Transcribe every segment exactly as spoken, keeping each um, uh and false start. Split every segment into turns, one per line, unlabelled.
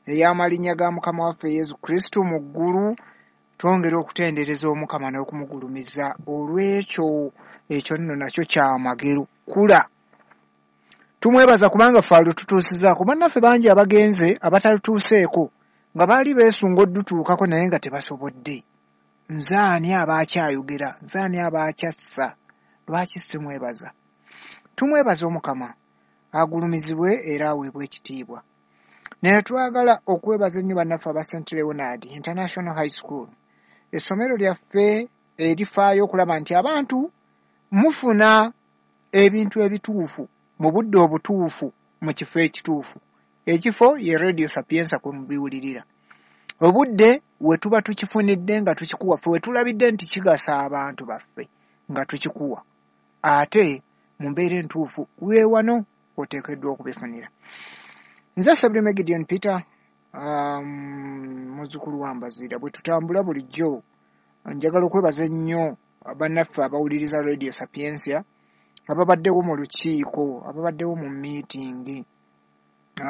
ey'amalinnya ga Mukama waffe Yesu Kristo mu ggulu. Twongera okutendereza Omukama n'okumugulumiza olw'ekyo. Ekyo nno nakyo kyamagero kula. Tumwebaza kubanga ffe alututuusizaako. Bannaffe bangi abagenze abatalutuuseeko nga baali beesunga oddutuukako naye nga tebasobodde. Nze ani aba akyayogera? Nze ani aba akyassa? Lwaki simwebaza? Tumwebaza Omukama, agulumizibwe era aweebwe ekitiibwa. Naye twagala okwebaza ennyo bannaffe aba Saint Leonard International High School, essomero lyaffe erifaayo okulaba nti abantu mufuna ebintu ebituufu mu budde obutuufu mu kifo ekituufu. Ekifo ye Radio Sapienza kwe mubiwulirira. Obudde we tuba tukifunidde nga tukikuwa, ffe we tulabidde nti kigasa abantu baffe nga tukikuwa, ate mu mbeera entuufu we wano oteekeddwa okubifunira. Nze Ssebulime Gideon Peter, um, muzzukulu wa Mbaziira. Bwe tutambula bulijjo njagala okwebaza ennyo bannaffe abawuliriza Radio Sapientia, ababaddewo mu lukiiko, ababaddewo mu miitingi,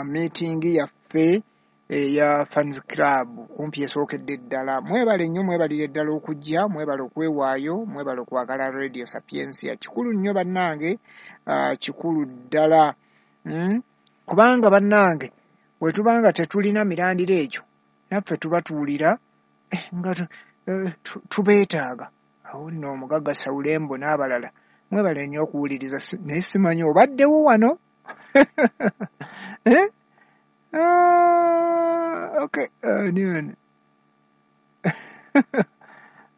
miitingi yaffe eya Fans Club kumpi esookedde ddala. Mwebale nnyo, mwebalire ddala okujja, mwebale okwewaayo, mwebale okwagala Radio Sapientia. Kikulu nnyo bannange, uh, kikulu ddala mm? Kubanga bannange bwe tuba nga tetulina mirandira egyo, naffe tuba tuwulira eh, nga eh, tubeetaaga. Awo nno omugagga Sawulembo n'abalala mwebale nnyo okuwuliriza, naye simanyi obaddewo wano. Eh? Ah, okay. Ani wano?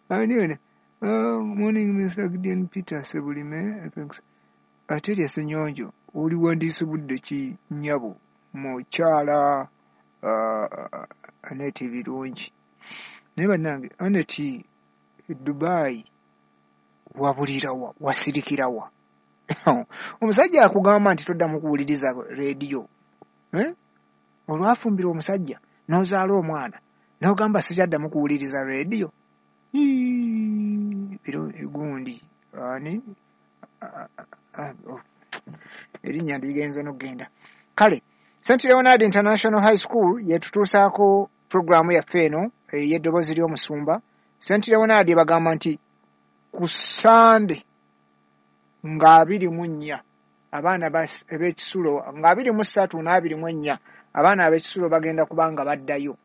Ani wano? Uh, morning Mister Gideon Peter Ssebulime. Thanks. Ate erya Ssenyonjo, oliwandiise budde ki nnyabo mukyala uh, Aneti Birungi? Naye bannange Aneti Dubai wabulirawa, wasirikirawa? Omusajja akugamba nti toddamu kuwuliriza rediyo. Eh? Olwafumbira omusajja n'ozaala omwana n'ogamba sikyaddamu kuwuliriza rediyo. Gundi ani erinnya ndigenze n'okugenda. Kale Saint Leonard International High School yetutuusaako puroguraamu yaffe eno ey'eddoboozi ly'omusumba. Saint Leonard bagamba nti ku Sande nga abiri mu nnya abaana ab'ekisulo, nga abiri mu ssatu n'abiri mu ennya abaana ab'ekisulo bagenda kuba nga baddayo.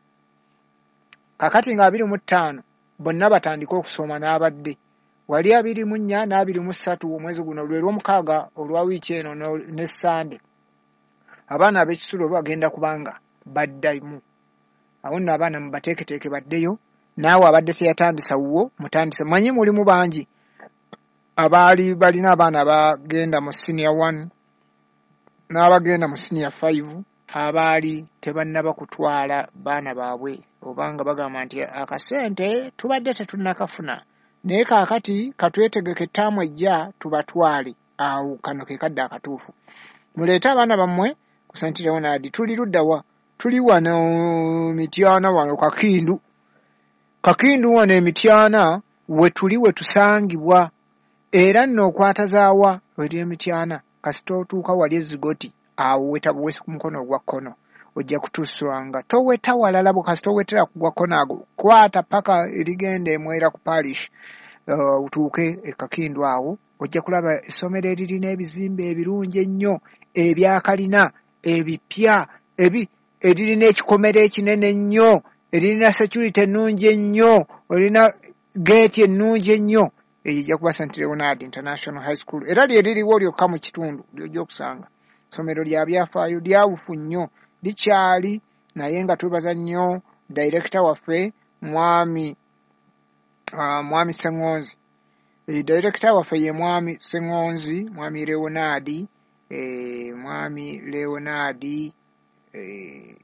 Kakati nga abiri mu ttaano bonna batandike okusoma n'abadde wali abiri mu nnya n'abiri mu ssatu omwezi guno lwe lw'omukaaga olwa wiiki eno ne Sande abaana ab'ekisulo bagenda kubanga baddamu. Awo nno abaana mubateeketeeke baddeyo. Naawe abadde teyatandisa wuwo mutandise. Manyi mulimu bangi abaali balina abaana abagenda mu senior one n'abagenda mu senior five abaali tebannaba kutwala baana baabwe, obanga bagamba nti akasente tubadde tetunnakafuna, naye kaakati katwetegeke ettaamu ejja tubatwale. Awo kano ke kadde akatuufu. Muleete abaana bammwe ku Saint Leonard. Tuli ludda wa? Tuli wano Mityana, wano Kakindu. Kakindu wano e Mityana we tuli, we tusangibwa. Era nno okwatazaawa eri Emityana, kasita otuuka wali ezigoti awo weta buwesi ku mukono ogwa kkono ojja kutuswanga. Toweta walala bo, kasita owetera ku gwa kkono ago kwata paka erigenda emwera ku parish, uh, otuuke e Kakindu awo ojja kulaba essomero eririna ebizimbe ebirungi ennyo ebyakalina ebipya ebi eririna ekikomera ekinene ennyo, eririna security ennungi ennyo, olina geeti ennungi ennyo. Eyo ejja kuba Saint Leonard International High School, era lye liriwo lyokka mu kitundu ly'ojja okusanga. Ssomero lya byafaayo, lyawufu nnyo, likyali, naye nga twebaza nnyo director waffe mwami uh, mwami Ssengonzi. E, director waffe ye mwami Ssengonzi, mwami Leonard, e, mwami Leonard e,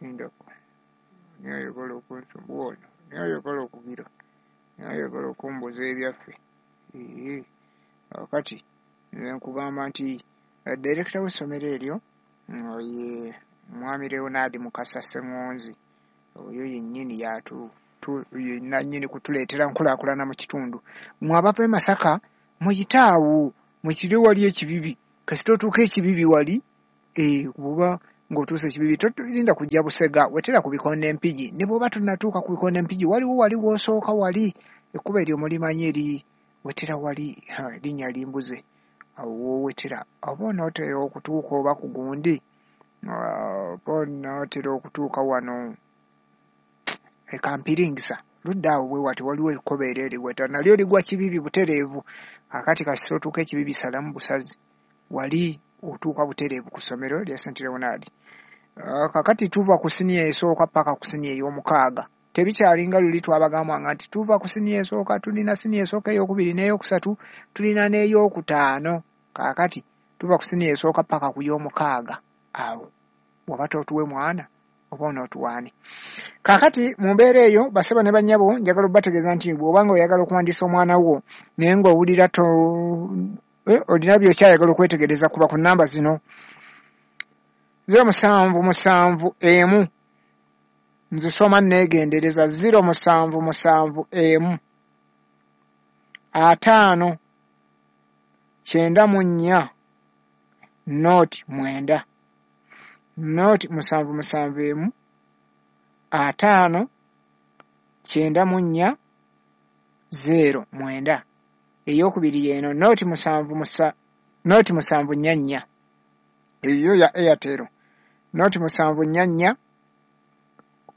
ndako nayagala okunsumbuwa ono, nayagala okugira, nayagala okumbuza ebyaffe. Ee, kakati nkugamba nti director w'essomero eryo ye mwami Leonard Mukasa Ssengonzi. Oyo yennyini yatu nannyini kutuleetera nkulaakulana mu kitundu. Mmwe abava e Masaka muyite awo mukire wali ekibibi, kasita otuuka ekibibi wali eh, oba Ng'otuuse Kibibi tolinda kujja Busega, wetera ku Bikonde Mpigi. Ne bw'oba tonnatuuka ku Bikonde Mpigi, waliwo wali w'osooka wali ekkubo eryo mulimanyi eri wetera wali, erinnya limbuze, awo w'owetera oba onootera okutuuka oba ku gundi, oba onootera okutuuka wano e Kampiringisa ludda awo bwe wati waliwo ekkubo eryo eriweta nalyo ligwa Kibibi butereevu. Kaakati kasita otuuka e Kibibi salamu busazi wali otuuka butereevu ku ssomero lya Saint Leonard. Kaakati tuva ku siniya esooka paka ku siniya ey'omukaaga. Tebikyalinga luli twabagambanga nti tuva ku siniya esooka, tulina siniya esooka ey'okubiri n'eyokusatu, tulina n'eyokutaano. Kaakati tuva ku siniya esooka paka ku y'omukaaga. Awo bw'oba tootuwe mwana oba onootuwaani. Kaakati mu mbeera eyo basebo ne bannyabo njagala obbategeeza nti bw'oba nga oyagala okuwandiisa omwana wo naye ng'owulira to eh, olina by'okyayagala okwetegereza, kuba ku nnamba zino zero musanvu musanvu emu, nzisoma nneegendereza, zero musanvu musanvu emu ataano kyenda mu nnya nooti mwenda, nooti musanvu musanvu emu ataano kyenda mu nnya zero mwenda. Eyokubiri yeeno nooti musanvu musa nooti musanvu nnya nnya, eyo ya Airtel, nooti musanvu nnya nnya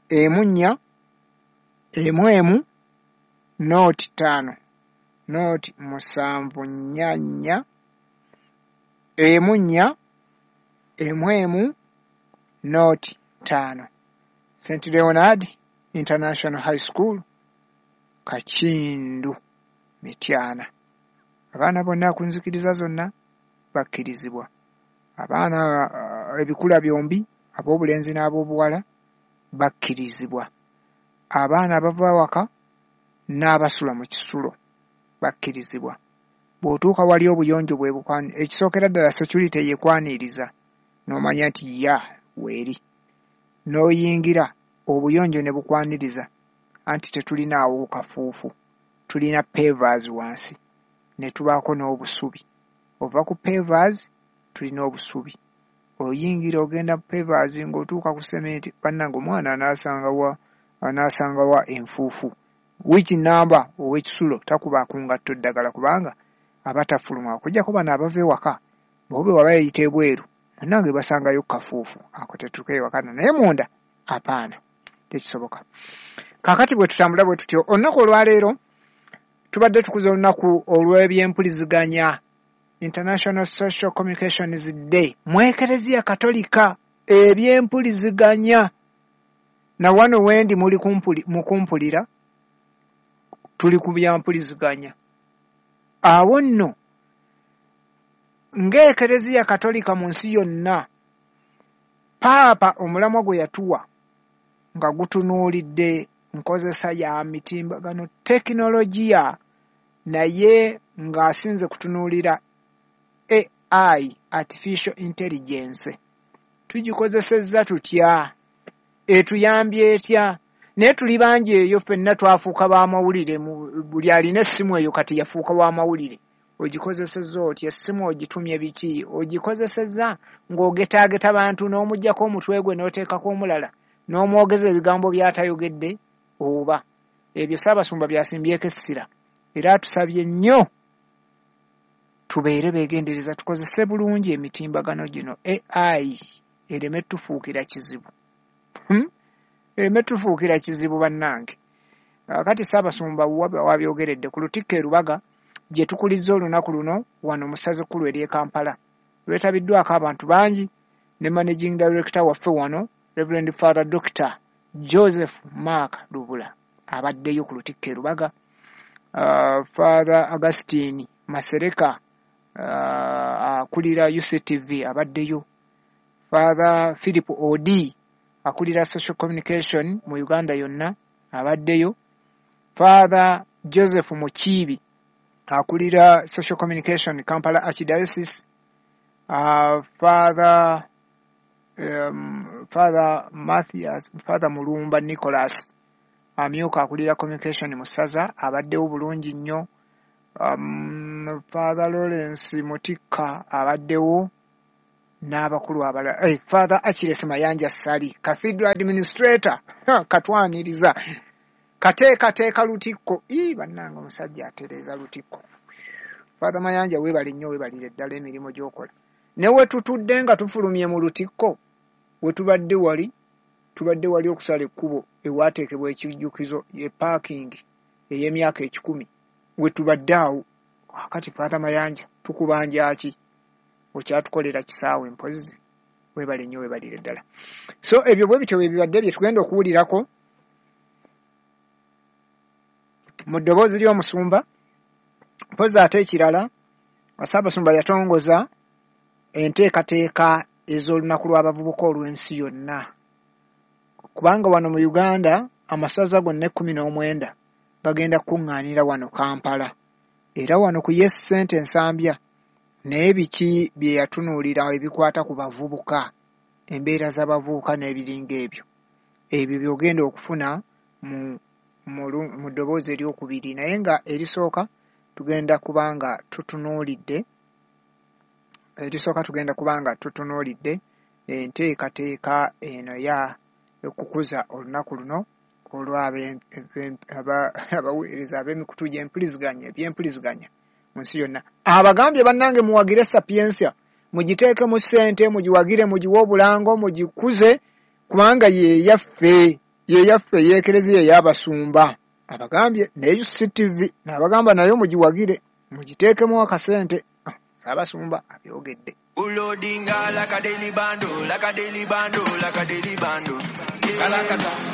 emu nnya emu emu nooti ttaano, nooti musanvu nnya nnya emu nnya emu emu nooti ttaano. Saint Leonard International High School, Kakindu, Mityana. Abaana bonna ku nzikiriza zonna bakkirizibwa. Abaana uh, ebikula byombi, ab'obulenzi n'ab'obuwala bakkirizibwa. Abaana abava awaka n'abasula mu kisulo bakkirizibwa. Bw'otuuka wali obuyonjo bwe bukwani, ekisookera ddala security yekwaniriza n'omanya nti ya weeri, n'oyingira obuyonjo ne bukwaniriza, anti tetulinaawo kafuufu, tulina pavers wansi ne tubaako n'obusubi. Ova ku pavers tulina obusubi, oyingira ogenda pavers ng'otuuka ku sementi, bannange omwana anaasangawa anaasangawa enfuufu. Wiiki nnamba ow'ekisulo takuba ku ngatto ddagala kubanga aba tafuluma, okuggyako bano abava ewaka bo bwe waba yeeyita ebweru munnange basangayo kafuufu ako tetukeewakana, naye munda apaana tekisoboka. Kaakati bwe tutambula bwe tutyo, olunaku olwaleero tubadde tukuza olunaku olw'ebyempuliziganya, International Social Communications Day, mu Ekereziya Katolika. Ebyempuliziganya na wano wendi muli kumpuli, mukumpulira tuli ku byampuliziganya. Awo nno ng'Ekereziya Katolika mu nsi yonna, Paapa omulamwa gwe yatuwa nga gutunuulidde nkozesa ya mitimbagano tekinologiya, naye ng'asinze kutunuulira A I, artificial intelligence. Tugikozesezza tutya? Etuyambye etya? Naye tuli bangi eyo ffenna twafuuka b'amawulire, buli alina essimu eyo kati yafuuka w'amawulire. Ogikozesezza otya? Essimu ogitumye biki? Ogikozesezza ng'ogetaageta bantu n'omuggyako omutwe gwe n'oteekako omulala n'omwogeza ebigambo by'atayogedde oba? Ebyo Ssaabasumba byasimbyeko essira, era atusabye nnyo tubeere beegendereza, tukozese bulungi emitimbagano gino. A I ereme tufuukira kizibu, hmm? ereme tufuukira kizibu bannange. Kati Ssaabasumba wabyogeredde ku Lutikko e Lubaga gye tukulizza olunaku luno wano mu ssaza ekkulu ery'e Kampala. Lwetabiddwako abantu bangi ne managing director waffe wano Reverend Father Doctor Joseph Mark Lubula abaddeyo ku Lutikko e Lubaga, uh, Father Augustine Masereka uh, akulira U C T V abaddeyo, Father Philip Odi akulira social communication mu Uganda yonna abaddeyo, Father Joseph Mukiibi akulira social communication Kampala Archdiocese, uh, Father um, Father Mathias, Father Mulumba Nicholas amyuka akulira communication mu ssaza abaddewo bulungi nnyo, um, Father Lawrence Mutikka abaddewo n'abakulu abalala. Hey, Father Achilles Mayanja Ssali, Cathedral Administrator, katwaniriza kateekateeka lutikko. Ii, bannange omusajja atereeza lutikko. Father Mayanja weebale nnyo, weebalire ddala emirimu gy'okola. Ne we tutudde nga tufulumye mu lutikko, we tubadde wali tubadde wali okusala ekkubo ewateekebwa ekijjukizo ye parking ey'emyaka ekikumi, we tubadde awo. Akati Father Mayanja tukubanja ki? Okyatukolera kisaawe mpozzi. Weebale nnyo, weebalire ddala. So ebyo bwe bityo bwe bibadde bye tugenda okuwulirako mu ddoboozi ly'omusumba. Mpozzi ate ekirala, Ssaabasumba yatongoza enteekateeka ez'olunaku lw'abavubuka olw'ensi yonna, kubanga wano mu Uganda amasaza gonna ekkumi n'omwenda bagenda kukuŋŋaanira wano Kampala, era wano ku Yes Center Nsambya. Naye biki bye yatunuulira ebikwata ku bavubuka, embeera z'abavubuka n'ebiringa ebyo, ebyo by'ogenda okufuna mu mu ddoboozi eryokubiri. Naye nga erisooka tugenda kubanga tutunuulidde erisooka tugenda kubanga tutunuulidde enteekateeka eno ya okukuza olunaku luno olw'abaweereza ab'emikutu gy'empuliziganya ebyempuliziganya mu nsi yonna. Abagambye bannange muwagire Sapientia, mugiteekemu ssente, mugiwagire, mugiwe obulango, mugikuze, kubanga ye yaffe, ye yaffe ey'Ekereziya ey'abasumba. Abagambye ne U C T V n'abagamba nayo mugiwagire, mugiteekemu akasente. Ssaabasumba abyogedde.
Ulodinga like a daily bando, like a daily bando, like a daily bando. Kalakata.